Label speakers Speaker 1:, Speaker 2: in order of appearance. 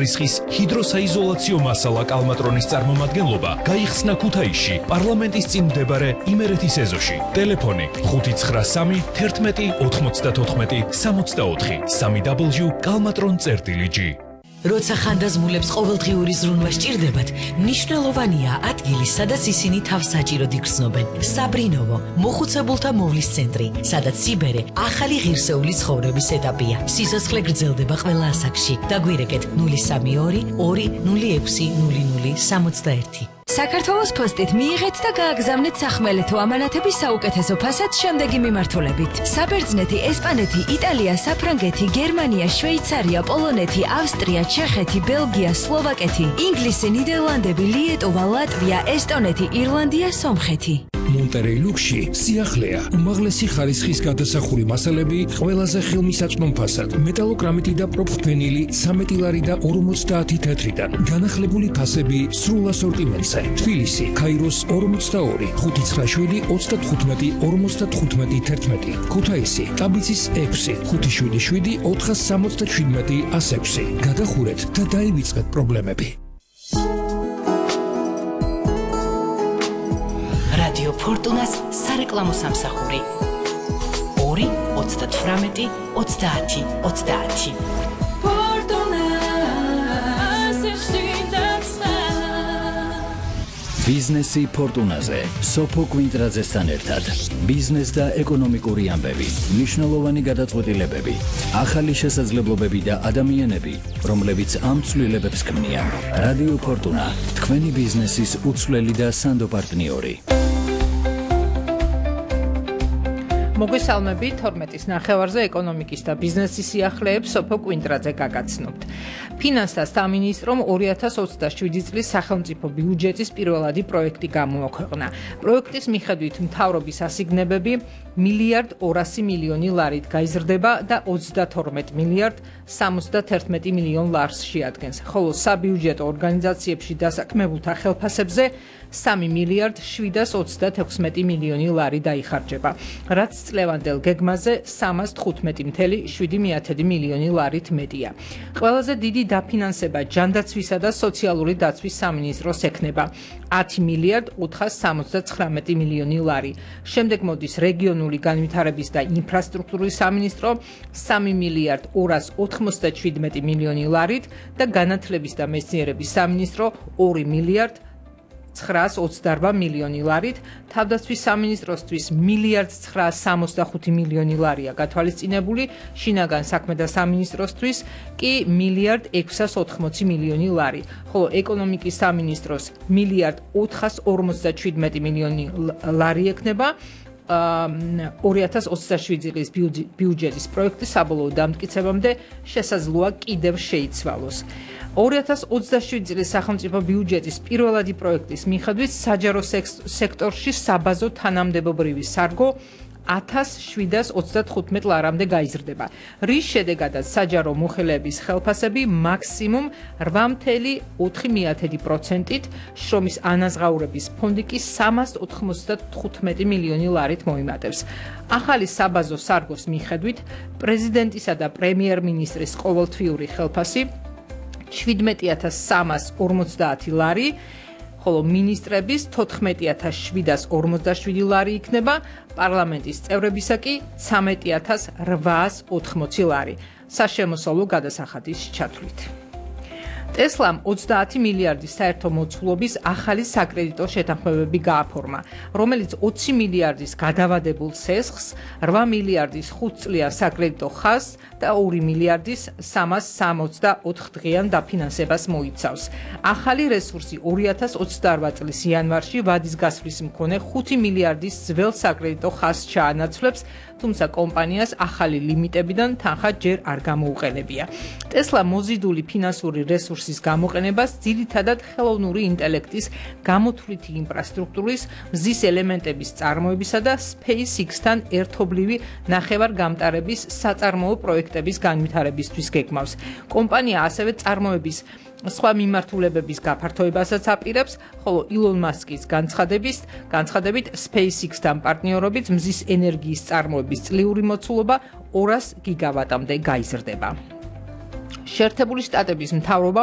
Speaker 1: რისხის ჰიდროსაიზოლაციო მასალა კალმატრონის წარმომადგენლობა გაიხსნა ქუთაისში პარლამენტის წინ მდებარე იმერეთის ეზოში. ტელეფონი 593 11 94 64 www.kalmatron.gr.
Speaker 2: როცა ხანდაზმულებს ყოველდღიური ზრუნვა სჭირდებათ, მნიშვნელოვანია ადგილი, სადაც ისინი თავს საჭიროდ იგრძნობენ. საბრინოვო, მოხუცებულთა მოვლის ცენტრი, სადაც სიბერე ახალი ღირსეული ცხოვრების ეტაპია. სიცოცხლე გრძელდება ყველა ასაკში. დაგვირეკეთ 032 206 0061.
Speaker 3: საქართველოს პოსტით მიიღეთ და გააგზავნეთ სახმელეთო ამანათების საუკეთესო ფასად შემდეგი მიმართულებით. საბერძნეთი, ესპანეთი, იტალია, საფრანგეთი, გერმანია, შვეიცარია, პოლონეთი, ავსტრია, ჩეხეთი, ბელგია, სლოვაკეთი, ინგლისი, ნიდერლანდები, ლიეტუვა, ლატვია, ესტონეთი, ირლანდია, სომხეთი.
Speaker 4: მონტერეი ლუქსში სიახლეა, უმაღლესი ხარისხის გადასახური მასალები ყველაზე ხელმისაწვდომ ფასად. მეტალოგრამიტი და პროფენილი 13 ლარი და 50 თეთრიდან. განახლებული ფასები სრულ ასორტიმენტზე. თბილისი, ქაიროს 42, 597 35 55 11. ქუთაისი, ტაბიცის 6, 577 477 106. გადახურეთ და დაივიწყეთ პრობლემები.
Speaker 2: რადიო ფორტუნას სარეკლამო სამსახური 2 38 30 30.
Speaker 5: ბიზნესი ფორტუნაზე სოფო კვინტრაძესთან ერთად ბიზნეს და ეკონომიკური ამბები, მნიშვნელოვანი გადაწყვეტილებები, ახალი შესაძლებლობები და ადამიანები, რომლებიც ამ ცვლილებებს ქმნიან. რადიო ფორტუნა, თქვენი ბიზნესის უცვლელი და სანდო პარტნიორი.
Speaker 6: მოგესალმებით 12-ის ნახევარზე ეკონომიკის და ბიზნესის სიახლეებს სოფო კვინტრაძე გაგაცნობთ. ფინანსთა სამინისტრომ 2027 წლის სახელმწიფო ბიუჯეტის პირველადი პროექტი გამოაქვეყნა. პროექტის მიხედვით მთავრობის ასიგნებები 1,200 მილიონი ლარით გაიზრდება და 32 მილიარდ 71 მილიონ ლარს შეადგენს, ხოლო საბიუჯეტო ორგანიზაციებში დასაქმებულთა ხელფასებზე 3 მილიარდ 726 მილიონი ლარი დაიხარჯება, რაც წლევანდელ გეგმაზე 315,7 მილიონი ლარით მეტია. ყველაზე დიდი დაფინანსება ჯანდაცვისა და სოციალური დაცვის სამინისტროს ექნება 10 მილიარდ 479 მილიონი ლარი. შემდეგ მოდის რეგიონული განვითარების და ინფრასტრუქტურის სამინისტრო 3 მილიარდ 297 მილიონი ლარით და განათლების და მეცნიერების სამინისტრო 2 მილიარდ 928 მილიონი ლარით, თავდაცვის სამინისტროსთვის 1,965 მილიონი ლარია გათვალისწინებული, შინაგან საქმეთა სამინისტროსთვის კი 1,680 მილიონი ლარი, ხოლო ეკონომიკის სამინისტროს 1,457 მილიონი ლარი ექნება 2027 წლის ბიუჯეტის პროექტის საბოლოო დამტკიცებამდე შესაძლოა კიდევ შეიცვალოს. 2027 წლის სახელმწიფო ბიუჯეტის პირველადი პროექტის მიხედვით საჯარო სექტორში საბაზო თანამდებობრივი სარგო 1735 ლარამდე გაიზრდება, რის შედეგადაც საჯარო მოხელეების ხელფასები მაქსიმუმ 8,4%-ით, შრომის ანაზღაურების ფონდი კი 395 მილიონი ლარით მოიმატებს. ახალი საბაზო სარგოს მიხედვით პრეზიდენტისა და პრემიერ-მინისტრის ყოველთვიური ხელფასი 17,350 ლარი, ხოლო მინისტრების 14,747 ლარი იქნება, პარლამენტის წევრებისა კი 13,880 ლარი, საშემოსავლო გადასახადის ჩათვლით. ტესლამ 30 მილიარდის საერთო მოცულობის ახალი საკრედიტო შეთანხმებები გააფორმა, რომელიც 20 მილიარდის გადავადებულ სესხს, 8 მილიარდის 5 წლიან საკრედიტო ხაზს და 2 მილიარდის 364 დღიან დაფინანსებას მოიცავს. ახალი რესურსი 2028 წლის იანვარში ვადის გასვლის მქონე 5 მილიარდის ძველ საკრედიტო ხაზს ჩაანაცვლებს, თუმცა კომპანიას ახალი ლიმიტებიდან თანხა ჯერ არ გამოუყენებია. ტესლა მოზიდული ფინანსური რესურსის გამოყენებას ძირითადად ხელოვნური ინტელექტის გამოთვლითი ინფრასტრუქტურის, მზის ელემენტების წარმოებისა და SpaceX-თან ერთობლივი ნახევარგამტარების საწარმოო პროექტების განვითარებისთვის გეგმავს. კომპანია ასევე წარმოების სხვა მიმართულებების გაფართოებასაც აპირებს, ხოლო ილონ მასკის განცხადებით SpaceX-თან პარტნიორობით მზის ენერგიის წარმოების წლიური მოცულობა 200 გიგავატამდე გაიზრდება. შეერთებული შტატების მთავრობამ